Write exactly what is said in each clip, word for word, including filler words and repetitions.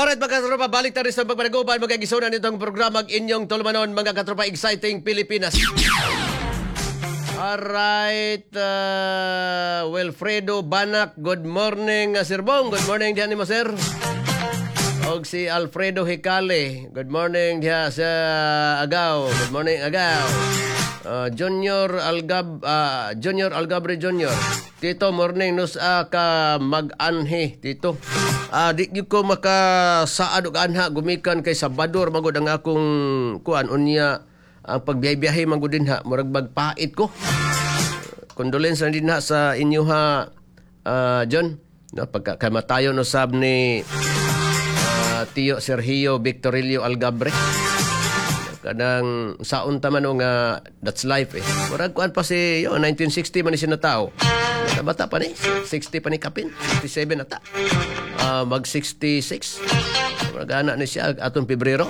Alright, mga katropa, balik tayo sa pagpanaguban. Magkagisunan nitong programa ang inyong tulumanon, mga katropa, Exciting Pilipinas. Alright, uh, Wilfredo Banak, good morning, uh, Sir Bong. Good morning diyan mo, sir. Og si Alfredo Hicale, good morning diha sa Agaw. Good morning, Agaw. Uh, Junior Algab uh, Junior Algabre Junior. Tito, morning nusa ka mag-anhi, Tito. Ah, di gyud ko makasaad og anha gumikan kay Sabador magud ang akong kuan, unya ang pagbiyahe-biyahe man gud dinha murag magpait ko. Condolence na dinha sa inyo ha, uh, John. No, pagka kamatayon usab ni uh, Tio Sergio Victorillo Algabre. Kanang saon ta man o nga that's life eh. Murag kuan pa si yo nineteen sixty man ni siya natao. Bata, bata pa ni, sixty pa ni kapin, sixty-seven na ta. Ah, mag sixty-six. Murag ana ni siya atong Pebrero.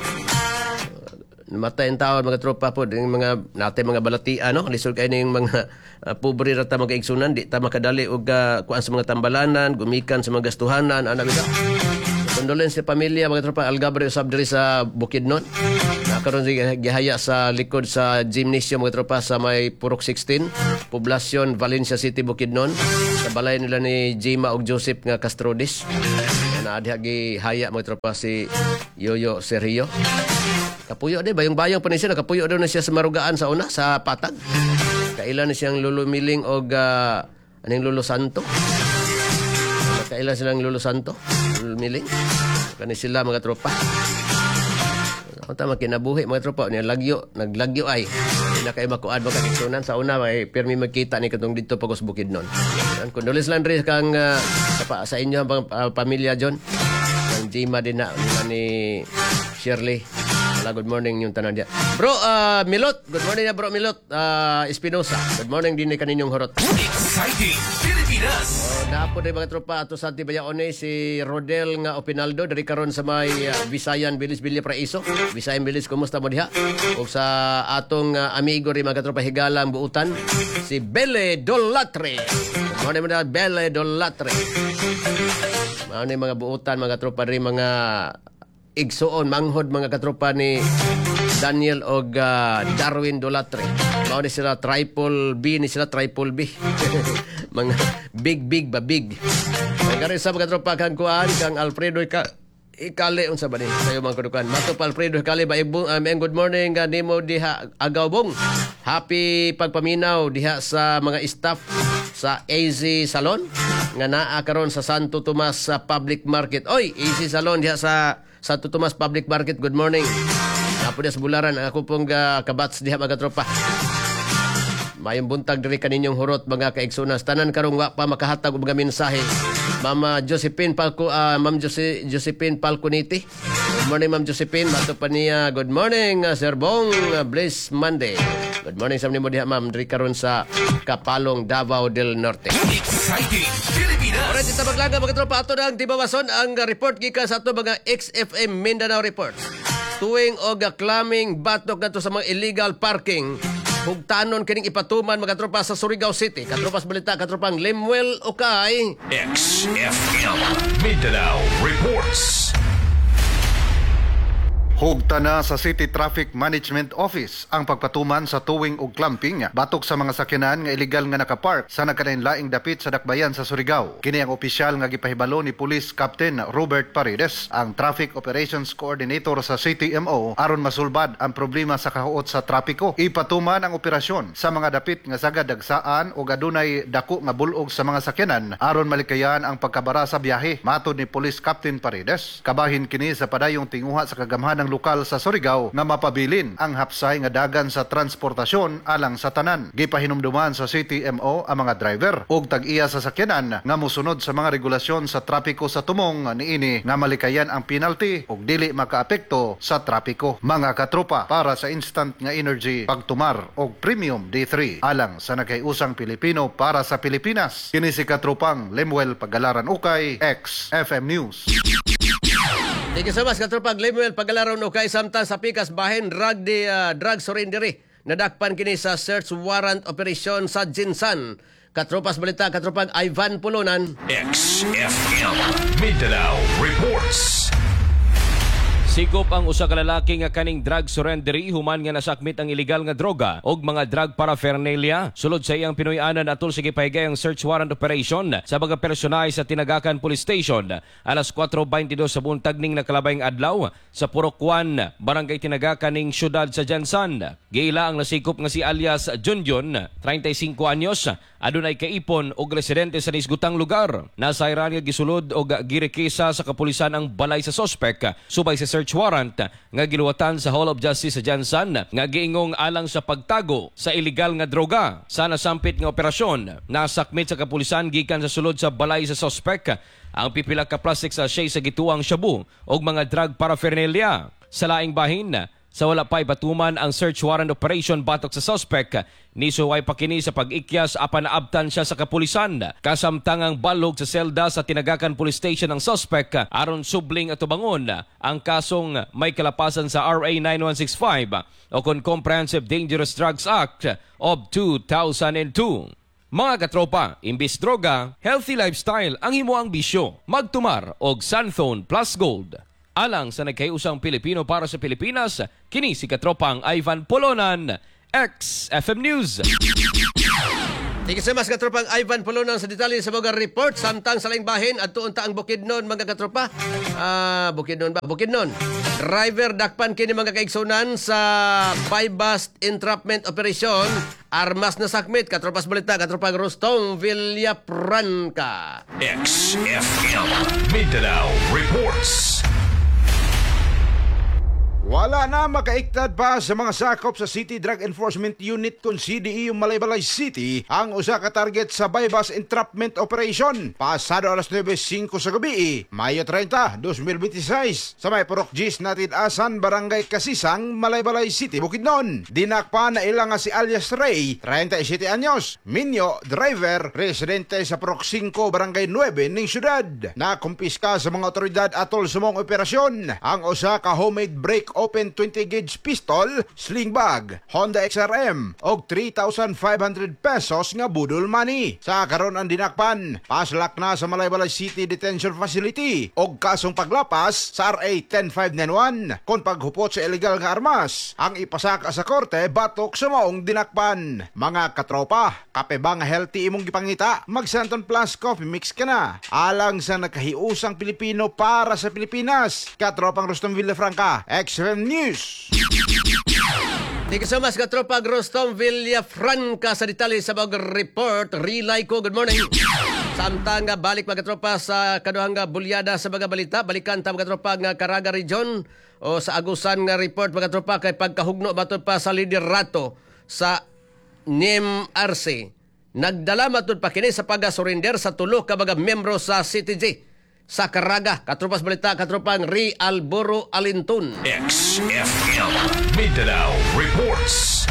Namatay ang tao, mga tropa po, yung mga natin mga balatian, no, lisod kay ning mga uh, pobre ra ta mga igsunan, di ta makadali og uh, kuan sa mga tambalanan gumikan sa mga gastuhanan ana bitaw. Condolence sa pamilya, mga tropa Algabre usab diri sa Bukidnon na karon gihaya sa likod sa gymnasium, mga tropa, sa may Purok sixteen, Poblacion, Valencia City, Bukidnon, sa balay nila ni Jima ug Joseph nga Castrodes na diha gihaya, mga tropa, si Yoyo Sergio. Kapuyo di bayong-bayong pa ni siya, nakapuyo daw na siya sa Marugaan sa una, sa Patag. Kaila ni siyang Lolo Miling og uh, aning Lolo Santo. Kaila silang Lolo Santo, Lolo Miling. Kani sila, mga tropa. Ang tama kinabuhi, mga tropa niya, lagyo, naglagyo ay. Di na kayo makuad mga kakigsunan sa una may pirmi magkita ni katong didto pagos Bukidnon. Yan, condolence lang rin kang uh, sa, sa inyo ang uh, pamilya John. Ang Jima din na nila ni Shirley. Wala, good morning yung tanan diya. Bro, uh, Milot, good morning na, bro Milot uh, Espinosa. Good morning din ni kaninyong horot. Exciting Pilipinas. Oh, napo din, mga tropa, ato sa Tibayaone si Rodel nga Opinaldo diri karon sa may uh, Visayan Village, Villa Paraiso. Visayan Village, kumusta mo diha? Ug sa atong uh, amigo rin, mga tropa, higalang buutan si Bele Dolatre. Good morning mo Bele Dolatre. Mao ni mga buutan, mga tropa, diri mga igsuon manghod, mga katropa, ni Daniel og uh, Darwin Dolatre. Mao ni sila, triple B ni sila, triple B. Mga big big ba big. Kaya sa mga tropa kang kuan kang Alfredo Ika Ikale, unsa ba ni sayo mga kudukan. Mato pa Alfredo Ikale ba ibong um, good morning uh, nimo diha Agawbong. Happy pagpaminaw diha sa mga staff sa A Z Salon nga naa karon sa Santo Tomas sa Public Market. Oy, A Z Salon diha sa Santo Tomas Public Market. Good morning. Napo diha sa Bularan ang ako pong uh, kabats diha, mga tropa. Mayong buntag diri kaninyong hurot, mga kaigsunas. Tanan karong wa pa makahatag og mga mensahe. Mama Josephine Palco, uh, Ma'am Jose, Josephine Falconiti. Good morning, Ma'am Josephine. Mato pa niya. Good morning, uh, Sir Bong. Uh, Bliss Monday. Good morning sa nimo diha, Ma'am, diri karon sa Kapalong, Davao del Norte. Exciting Pilipinas. Alright, ita maglaga, mga tropa, ato na ang tibawason ang report gikan sa ato mga X F M Mindanao Reports. Towing og clamping batok ngadto sa mga illegal parking. Hugtanon kining ipatuman, mga tropa, sa Surigao City. Katropas balita, katropang Lemuel Ukay. X F M Mindanao Reports. Hugta na sa City Traffic Management Office ang pagpatuman sa towing ug clamping batok sa mga sakyanan nga illegal nga nakapark sa nagkalain-laing dapit sa dakbayan sa Surigao. Kini ang opisyal nga gipahibalo ni Police Captain Robert Paredes, ang Traffic Operations Coordinator sa C T M O, aron masulbad ang problema sa kahuot sa trapiko. Ipatuman ang operasyon sa mga dapit nga sagad dagsaan o adunay dako nga bulog sa mga sakyanan aron malikayan ang pagkabara sa biyahe. Matod ni Police Captain Paredes, kabahin kini sa padayong tinguha sa kagamhanang lokal sa Surigao nga mapabilin ang hapsay nga dagan sa transportasyon alang sa tanan. Gipahinumduman sa C T M O ang mga driver ug tag-iya sa sakyanan nga mosunod sa mga regulasyon sa trapiko sa tumong niini nga malikayan ang penalty ug dili makaapekto sa trapiko. Mga katropa, para sa instant nga energy, pagtumar og Premium D three alang sa nagkaiusang Pilipino para sa Pilipinas. Kini si katropang Lemuel Pagalaran Ukay, X F M News. Thank you so much, katropang Lemuel Pagalaran Ukay. Samtang sa pikas bahin, drug di uh, drug surrendery. Nadakpan kini sa search warrant operation sa Gensan. Katropas balita, katropang Ivan Pulunan. X F M Mindanao Reports. Sikop ang usa ka lalaki nga kaning drug surrendery human nga nasakmit ang illegal nga droga og mga drug paraphernalia sulod sa iyang Pinoy-anan atol sa gipahigayong search warrant operation sa mga personahe sa Tinagacan Police Station alas kwatro beinte dos sa buntag ning nakalabayng adlaw sa Purok one, Barangay Tinagacan ning syudad sa Gensan. Giila ang nasikop nga si alias Junjun, trentay singko anyos, adunay kaipon og residente sa nisgutang lugar. Nasayran nga gisulod og girekisa sa kapulisan ang balay sa sospek subay sa search warrant nga giluwatan sa Hall of Justice sa Gensan nga giingong alang sa pagtago sa illegal nga droga. Sa nasampit nga operasyon, nasakmit sa kapulisan gikan sa sulod sa balay sa sospek ang pipila ka plastic sachet sa gituang shabu og mga drug paraphernalia. Sa laing bahin, sa wala pa ipatuman ang search warrant operation batok sa suspect, nisuway pa kini sa pag-ikyas apan naabtan siya sa kapulisan. Kasamtang ang balog sa selda sa Tinagacan Police Station ng suspect aron subling atubangon ang kasong may kalapasan sa R A nine one six five o kon Comprehensive Dangerous Drugs Act of two thousand two. Mga katropa, imbis droga, healthy lifestyle ang imoang bisyo. Magtumar og Xanthone Plus Gold. Alang sa nagkahiusang Pilipino para sa Pilipinas, kini si katropang Ivan Polonan, X F M News. Thank you so much, katropang Ivan Polonan, sa detalye sa mga report. Samtang sa laing bahin at unta ang Bukidnon, mga katropa. Ah, Bukidnon ba? Bukidnon. Driver dakpan kini, mga kaigsunan, sa buy-bust entrapment operation. Armas na sakmit. Katropas balita, katropang Rustom Villafranca. X F M Mindanao Reports. Wala na makaiktad pa sa mga sakop sa City Drug Enforcement Unit kung C D E U Malaybalay City ang usa ka target sa buy-bust entrapment operation pasado alas nuwebe singko sa gabi, Mayo trenta, dalawang libo beinte sais, sa may Purok Gis Natid Asan, Barangay Kasisang, Malaybalay City, Bukidnon. Dinakpa na ilang nga si alias Ray, trenta y siyete anyos, minyo, driver, residente sa Purok singko, Barangay nuwebe ning syudad. Nakumpiska sa mga otoridad atol sa maong operasyon ang usa ka homemade break open twenty gauge pistol, sling bag, Honda X R M og three thousand five hundred pesos nga budol money. Sa karon ang dinakpan, paslak na sa Malaybalay City Detention Facility og kasong paglapas sa R A one oh five nine one kon paghupot sa illegal nga armas ang ipasaka sa korte batok sa maong dinakpan. Mga katropa, kape ba nga healthy imong gipangita? Mag Xanthone Plus Coffee Mix ka na. Alang sa nakahiusang Pilipino para sa Pilipinas. Katropang Rustom Villafranca, X F M News. Thank you so much, katropa Rostom Villafranca, sa detalye sa mga report. Relay ko, good morning. Samtang nga balik, mga katropa, sa kaduhang nga bulyada sa mga balita, balikan ta, mga katropa, nga Caraga Region o sa Agusan nga report, mga katropa, kay pagkahugno matud pa sa liderato sa N I M R C. Nagdala matud pa kini sa pag-surrender sa tulo ka mga membro sa C T G sa Caraga. Katropas balita, katropang Ri Alboro Alintun. X F M Mindanao Reports.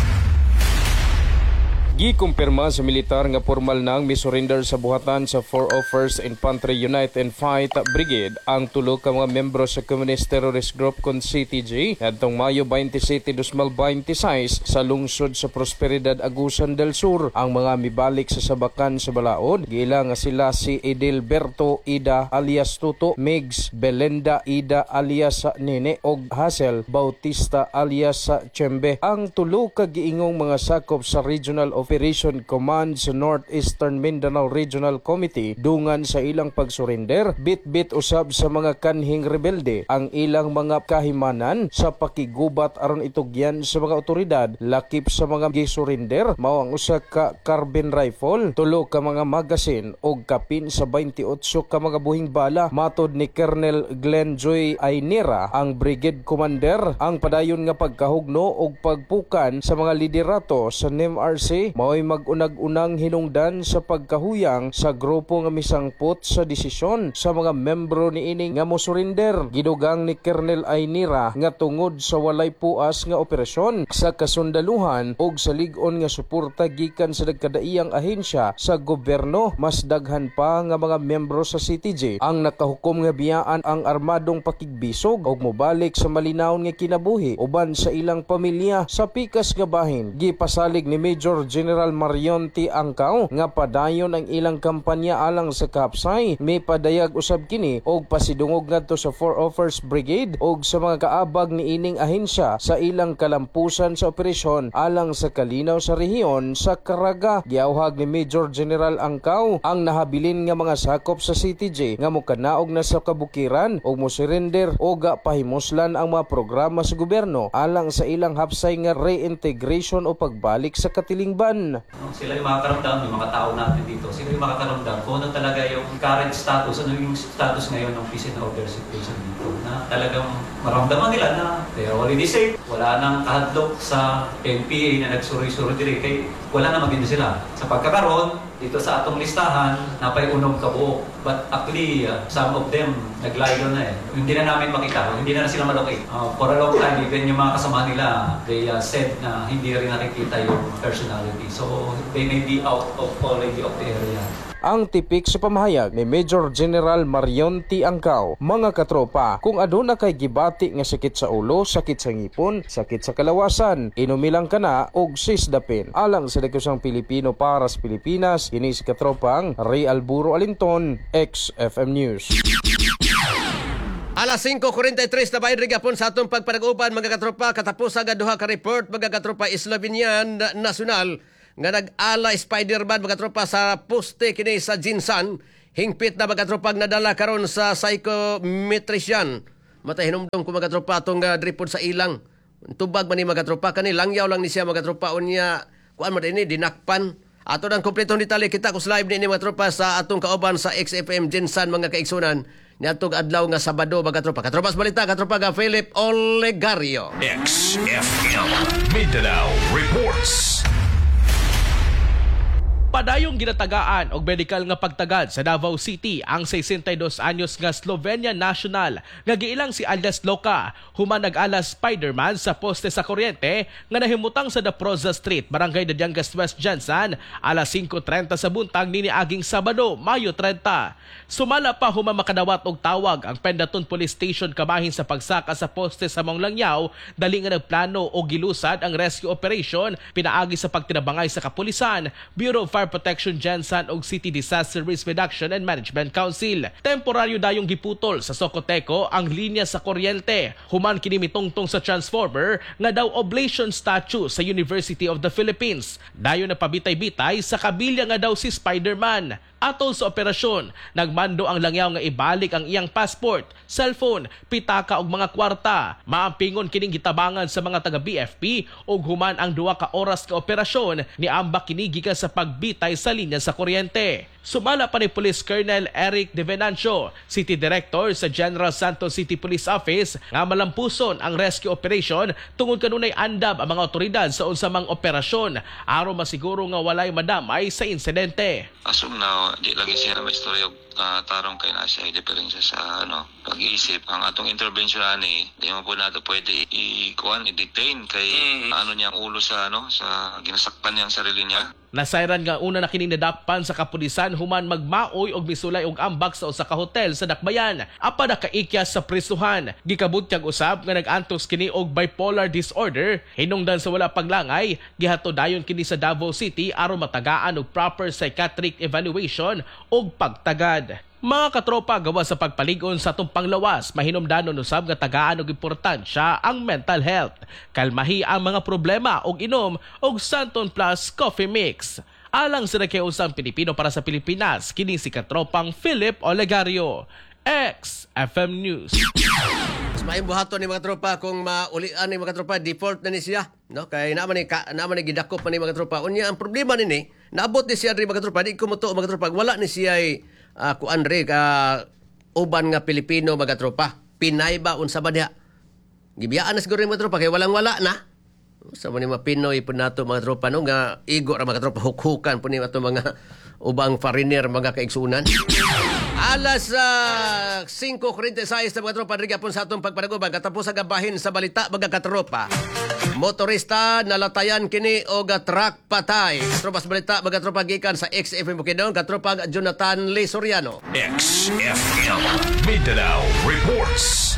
Gikumpirma sa militar nga formal nang misurrender sa buhatan sa four oh first Infantry Unite and Fight Brigade ang tulo ka mga membro sa Communist Terrorist Group kon C T G ngadtong Mayo beinte siyete, dalawang libo beinte sais sa lungsod sa Prosperidad, Agusan del Sur. Ang mga mibalik sa sabakan sa balaod giila nga sila si Edilberto Ida alias Tuto, Migs Belenda Ida alias Nene og Hazel Bautista alias Chembe. Ang tulo ka giingong mga sakop sa Regional Operation Command sa Northeastern Mindanao Regional Committee, dungan sa ilang pagsurrender, bit-bit usab sa mga kanhing rebelde ang ilang mga kahimanan sa pakigubat aron itugyan sa mga otoridad. Lakip sa mga gisurrender mao ang usa ka carbine rifle, tulo ka mga magazine ug kapin sa beinte otso ka mga buhing bala. Matod ni Colonel Glenn Joy Aynira, ang brigade commander, ang padayon nga pagkahugno ug pagpukan sa mga liderato sa N I M R C mao'y mag-unag-unang hinungdan sa pagkahuyang sa grupo nga misangpot sa desisyon sa mga membro niini nga mosurrender. Gidugang ni Colonel Aynira nga tungod sa walay puas nga operasyon sa kasundaluhan ug sa lig-on nga suporta gikan sa nagkadaiyang ahensya sa gobyerno, mas daghan pa nga mga membro sa C T G ang nakahukom nga biyaan ang armadong pakigbisog ug mobalik sa malinawon nga kinabuhi uban sa ilang pamilya. Sa pikas nga bahin, gipasalig ni Major General General Marion T. Angkaw nga padayon ang ilang kampanya alang sa kahapsay. May padayag usab kini og pasidungog ngadto sa four oh first Brigade og sa mga kaabag ni ining ahensya sa ilang kalampusan sa operasyon alang sa kalinaw sa rehiyon sa Caraga. Giawhag ni Major General Angkaw ang nahabilin nga mga sakop sa C T G nga mokanaog na sa kabukiran og mosurrender og pahimuslan ang mga programa sa gobyerno alang sa ilang hapsay nga reintegration o pagbalik sa katilingban. No, sila yung makakaramdam, yung mga tao natin dito, sila yung makakaramdam kung ano talaga yung current status, ano yung status ngayon ng peace and order situation dito. Na talagang maramdaman nila na they are already safe, wala nang kahadlok sa N P A na nagsuroy-suroy diri kay wala na magindi sila. Sa pagkakaroon, dito sa atong listahan, napay unom kabuok. But actually, uh, some of them naglayo na eh. Hindi na namin makita, hindi na, na sila malocate. Uh, for a long time, even yung mga kasama nila, they uh, said na hindi rin nakikita yung personality. So, they may be out of already of the area. Ang tipik sa pamahayag ni Major General Marion T. Angkaw, mga katropa, kung aduna kay gibati nga sakit sa ulo, sakit sa ngipon, sakit sa kalawasan, inumi lang kana og Sisdapin. Alang sa Dagkusang Pilipino para sa Pilipinas, kini si katropang Ray Alburo Alinton, X F M News. Alas singko kuwarenta y tres na bahin gapon sa atong pagpanag-uban, mga katropa, katapos ang duha ka report, mga katropa. Slovenian national nga nag-ala Spider-Man, mga katropa, sa poste kini sa GenSan, hingpit na, mga katropa, nadala karon sa psychometrician. Matay hinumdum ko, mga katropa, atong uh, dripod sa ilang tubag man ni, mga katropa, kani langyaw lang ni siya, mga katropa. Unya kuan man ini dinakpan. Ato ng kompletong detalye, kita kus live ni mga tropa sa atong kauban sa X F M GenSan, mga kaigsunan, niadtong adlaw nga Sabado, mga tropa. Katropas balita, katropa nga Philip Olegario. X F M Mindanao reports. Padayong ginatagaan og medical nga pagtagad sa Davao City ang sesenta y dos anyos nga Slovenia national nga giilang si alias Loka human nag-ala Spider-Man sa poste sa kuryente nga nahimutang sa Daproza Street, Barangay Dadiangas West, GenSan, alas singko trenta sa buntag nini aging Sabado, Mayo trenta. Sumala pa human makadawat og tawag ang Pendatun Police Station kabahin sa pagsaka sa poste sa maong langyaw, dali nga nagplano og gilusad ang rescue operation pinaagi sa pagtinabangay sa kapulisan, Bureau of Fire Protection GenSan ug City Disaster Risk Reduction and Management Council. Temporaryo dayong giputol sa Socoteco ang linya sa kuryente human kini mitungtong sa transformer nga daw oblation statue sa University of the Philippines. Dayon na pabitay-bitay sa kabilya nga daw si Spider-Man. Atol sa operasyon, nagmando ang langyaw nga ibalik ang iyang passport, cellphone, pitaka ug mga kwarta. Maampingon kining gitabangan sa mga taga B F P ug human ang duha ka oras ka operasyon, niambak kini gikan sa pagbitay sa linya sa kuryente. Sumala pa ni Police Colonel Eric De Venancio, City Director sa General Santos City Police Office, nga malampuson ang rescue operation tungod kanunay andam ang mga otoridad sa unsa mang operasyon aron masiguro nga walay madamay sa insidente. As of now, di lagi siya may istorya og uh, tarong kay na siya diferensya sa ano pag-iisip. Ang atong intervention ani, di mo po nato pwede i-kuan, i-detain kay mm. ano niya ang ulo sa ano sa ginasaktan niya ang sarili niya. Nasayran nga una na kining nadakpan sa kapulisan human magmaoy og misulay og ambak sa usa ka hotel sa Dakbayan. Apan nakaikya sa prisuhan. Gikabutyag usab nga nag-antos kini og bipolar disorder. Hinungdan sa wala paglangay, gihatod dayon kini sa Davao City aron matagaan og proper psychiatric evaluation ug pagtagad. Mga katropa, gawa sa pagpalig-on sa atong panglawas, mahinumdanon usab nga tagaan og importansya ang mental health. Kalmahi ang mga problema og inom og Santon Plus Coffee Mix. Alang sa Nakiusang Pilipino para sa Pilipinas, kini si katropang Philip Olegario. X F M News. Mas maayong buhaton ni mga tropa kung maulian ni mga tropa, default na ni siya, no? Kay naman ni ka, naman ni gidakop man ni, mga tropa. Unya ang problema nini, naabot ni siya diri, mga tropa, di ko motuo, mga tropa, wala ni siya uh, kuan re ka uban nga Pilipino, mga tropa. Pinay ba, unsa ba diha? Gibiyaan na siguro ni mga tropa kay walang wala na. Sa man ni mga Pinoy po nato, mga tropa, no, nga igo ra, mga tropa, hukhukan po ni ato mga ubang foreigner, mga kaigsunan. Alas uh, singko kuwarenta y sais na, mga tropa, diri po sa atong pagpanaguban, katapos ang gabahin sa balita, mga katropa. Motorista nalatayan kini og truck patay. Katropa sa balita, mga tropa, gikan sa X F M Bukidnon, katropa Jonathan Lee Soriano. X F M Mindanao reports.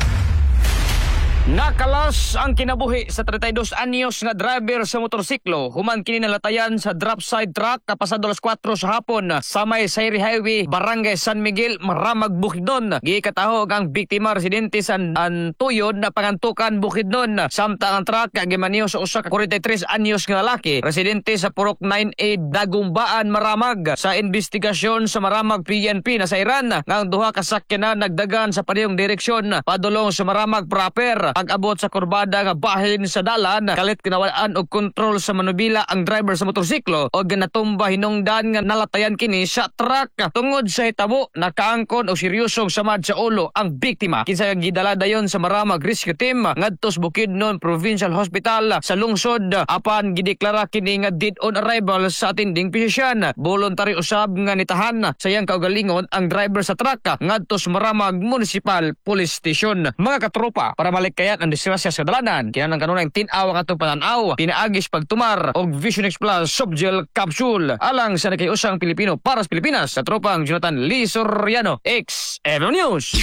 Nakalas ang kinabuhi sa trentaydos anyos nga driver sa motorsiklo human kini nalatayan sa dropside truck kapasado alas kwatro sa hapon sa may Sayri Highway, Barangay San Miguel, Maramag, Bukidnon. Gikatahog ang biktima residente sa Antuyod na Pangantukan, Bukidnon. Samtang ang truck gimaniho sa usa ka kwarenta y tres anyos nga lalaki residente sa Purok nine A, Dagumbaan, Maramag. Sa investigasyon sa Maramag P N P, nasayran nga ang duha ka sakyanan nagdagan sa parehong direksyon padulong sa Maramag proper. Pag-abot sa kurbada nga bahin sa dalan, kalit kinawaan og kontrol sa manubila ang driver sa motorsiklo og natumba hinungdan nga nalatayan kini sa truck. Tungod sa hitabo, nakaangkon og seryosong samad sa ulo ang biktima, kinsa gidala dayon sa Maramag Rescue Team ngadto sa Bukidnon Provincial Hospital sa lungsod, apan gideklara kini nga dead on arrival sa attending physician. Voluntary usab nga nitahan sa iyang kaugalingon ang driver sa truck ngadto sa Maramag Municipal Police Station. Mga katropa, para malikayan ang disgrasya sa dalanan, kinahanglan kanunay tin-aw ang atong pananaw pinaagi sa pagtumar og Vision X Plus Softgel Capsule. Alang sa nagkaiusang Pilipino para sa Pilipinas, sa tropang Jonathan Lee Soriano, X F M News.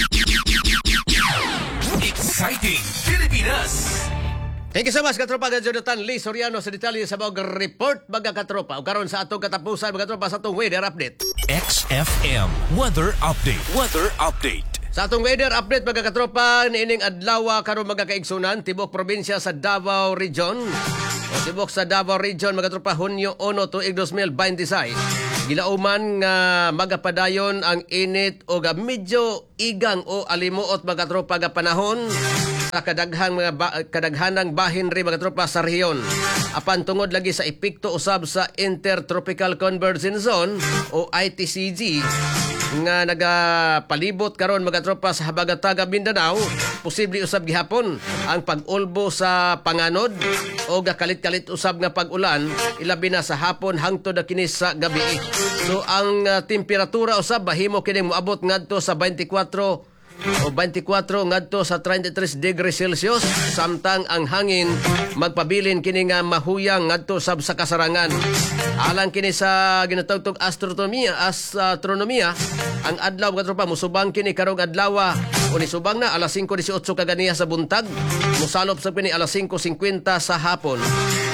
Exciting Pilipinas. Thank you so much, katropa nga Jonathan Lee Soriano, sa detalye sa mga report, mga katropa. O karon sa atong katapusan, mga katropa, sa atong weather update. X F M Weather Update. Weather Update. Sa atong weather update, mga katropa, niining adlaw karon, mga kaigsunan, tibok probinsya sa Davao Region. O tibok sa Davao Region, mga katropa, Hunyo uno tuig dalawang libo bente sais. Gilauman nga magapadayon ang init o ga medyo igang o alimuot, mga katropa, nga panahon sa kadaghang mga ba, kadaghanang bahin ri, mga katropa, sa rehiyon. Apan tungod lagi sa epekto usab sa Intertropical Convergence Zone o I T C Z nga nagapalibot karon, mga tropa, sa habagatan Mindanao, posible usab gihapon ang pag-ulbo sa panganod o gakalit-kalit usab nga pag-ulan, ilabi na sa hapon hangtod na kini sa gabi. So ang uh, temperatura usab bahimo kining moabot ngadto sa bente kwatro o bente kwatro ngadto sa trenta y tres degrees Celsius, samtang ang hangin magpabilin kini nga mahuyang ngadto sab sa kasarangan. Alang kini sa ginatawgtog astronomia, astronomia, ang adlaw, mga tropa, musubang kini karong adlaw o nisubang na alas singko labing walo kaganiha sa buntag, musalop sa kini alas singko singkwenta sa hapon.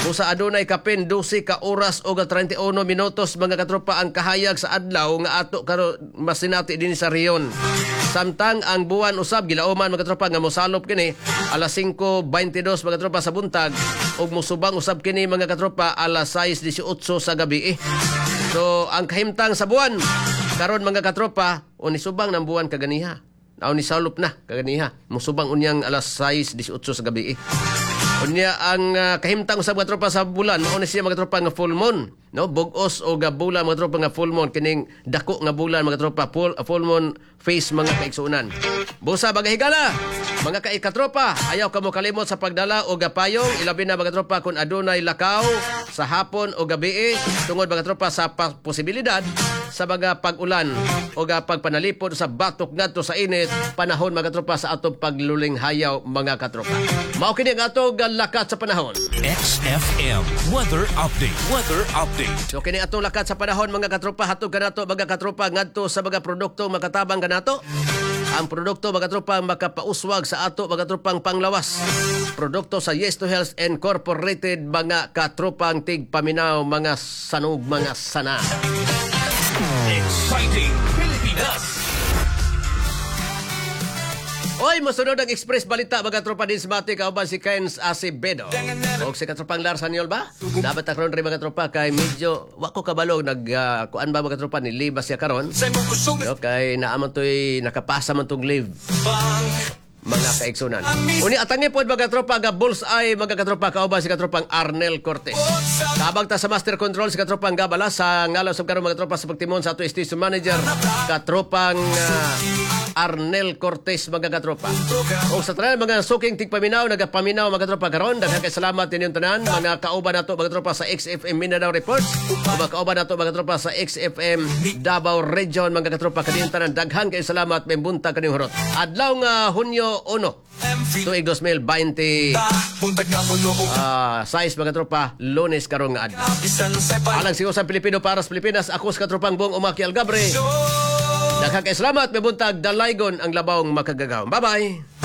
Busa adunay kapin dose ka oras o trenta y uno minutos, mga katropa, ang kahayag sa adlaw nga ato karon masinati dinhi sa rehiyon. Samtang ang buwan usab gilauman, mga tropa, nga mosalop kini alas singko bainte dos, mga tropa, sa buntag ug mosubang usab kini, mga katropa, alas sais labing walo sa gabi. Eh. So ang kahimtang sa buwan karon, mga katropa, o nisubang ng buwan kaganiha. O nisalop na kaganiha. Mosubang unyang alas sais labing walo sa gabi. Eh. Unya ang uh, kahimtang usab, mga tropa, sa bulan, mao ni siya, mga tropa, nga full moon, no? Bug-os o ga bulan, mga tropa, nga full moon, kining dako nga bulan, mga tropa, full, full moon phase, mga kaigsuonan. Busa mga higala, mga kaikatropa, ayaw kamo kalimot sa pagdala og payong, ilabi na, mga tropa, kung adunay lakaw sa hapon o gabi, tungod, mga tropa, sa pa- posibilidad sa mga pag-ulan o ga pagpanalipod sa batok ngadto sa init panahon, mga tropa, sa atong pagluling hayaw, mga katropa. Mao kini ang atong lakat sa panahon. X F M Weather Update. Weather Update. So kini atong lakat sa panahon, mga katropa, hatod kanato, mga katropa, ngadto sa mga produkto makatabang kanato. Ang produkto, mga tropa, makapauswag sa ato, mga tropang panglawas. Produkto sa Yes to Health Incorporated, mga katropang tigpaminaw, mga sanog, mga sana. Exciting Pilipinas. Oy, mosunod ang Express Balita, mga tropa, din sa mati kauban si Kenz Acevedo. Og si katropang Lars Haniol ba? Dapat karon rin, mga tropa, kay medyo wa ko kabalo nag uh, kuan ba, mga tropa, ni leave ba siya karon? No, kay naa man to'y nakapasa man tong leave, mga kaigsunan. Uni atangi po, mga katropa, ga bullseye, mga katropa, kauban si katropang Arnel Cortez. Tabang ta sa Master Control si katropang Gabala sa ngalaw sa karon, mga tropa, sa pagtimon sa ato station manager katropang uh, Arnel Cortez, mga katropa. O sa tanan mga suking tigpaminaw, nagapaminaw, mga katropa, karon, daghang kay salamat ninyong tanan, mga kauban nato, mga tropa, sa X F M Mindanao Reports, o mga kauban nato, mga tropa, sa X F M Davao Region, mga katropa, kaninyong tanan, daghan kay salamat, may buntag kaninyong hurot. Adlaw nga Hunyo uno, tuig dalawang libo bente ah, sais, mga tropa, Lunes karong nga adlaw. Alang sa Pilipino para sa Pilipinas, ako sa katropang Bong Umaki Algabre. Daghang kay salamat, may buntag, dalaygon ang labawng makagagahom. Bye-bye!